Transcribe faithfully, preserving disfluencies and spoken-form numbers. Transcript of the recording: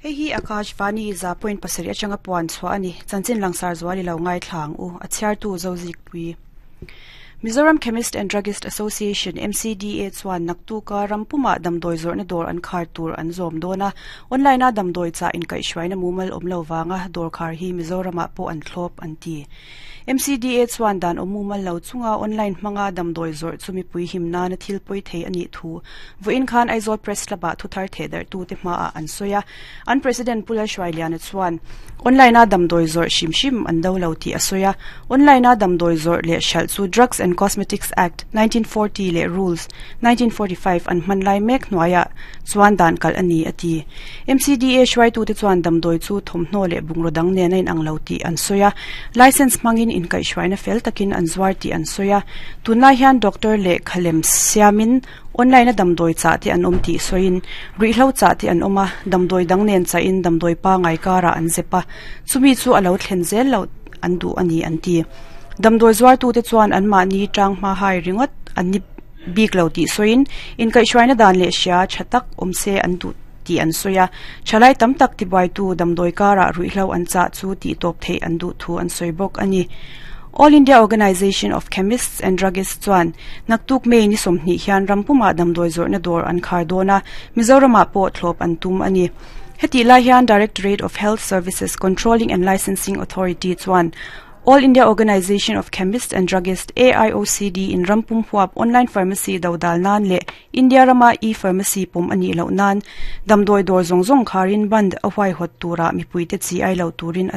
Hei hi Akashvani za point pasarih atanga puan chhuah ani chanchin langsar zuali lo ngai thlang u a chhiartu Zozik pui Mizoram Chemist and Druggist Association M C D A chuan naktuka rampuma damdawi zawrhna dawr an khar tur an zawm dawn a. Online a damdawi cha in kaihhruaina mumal awm lo wanga dawr khar hi Mizoramah pawh an thlawp an ti. M C D A chuan dan awm mumal lo chunga online hmanga damdawi zawrh chu mipui him nana thil pawi thei ani thu vawiin khan Aizawl Press Club ah thuthar thehdar tu te hma ah an sawi a. An president Pula Hruailiana chuan online a damdawi zawrh hrim hrim an do lo tih a sawi a. Online a damdawi zawrh leh hralh chu Drugs and Cosmetics Act nineteen forty leh Rules nineteen forty-five an hman lai mek hnuaiah chuan dan kal ani a ti. M C D A hruaitu te chuan damdawi chu thawmhnaw leh bungraw dang nen a inang lo tih an sawi a. License hmangin inkaihhruaina fel takin an zuar tih an sawi a. Tunlai hian doctor leh khalem siamin online a damdawi chah te an awm tih sawiin ruihhlo chah te an awm a. Damdawi dang nen chahin damdawi pangai karah an zep a, chumi chu a lo thlen zel lo an duh ani an ti. Damdawi zuartu te chuan an mahni tang hma hai ringawt an ni bik lo tih sawiin inkaihhruaina dan leh hria tha tak awm se an duh tih an sawi a. Thalai tam tak tibuaitu damdawi karah ruihhlo an chah chu tih tawp theih an duh thu an sawi bawk ani. All India Organisation of Chemists and Druggists chuan naktuk May ni sawmhnih hian rampuma damdawi zawrhna dawr an khar dawn a. Mizoramah pawh thlawp an tum ani. Heti lai hian Directorate of Health Services Controlling and Licensing Authority chuan All India Organisation of Chemists and Druggists A I O C D in rampum huap online pharmacy dodal nan leh India rama e-pharmacy pum ani lo nan damdawi dawr zawng zawng kharin bandh a huai hot tura mipui te chi ai lo turin.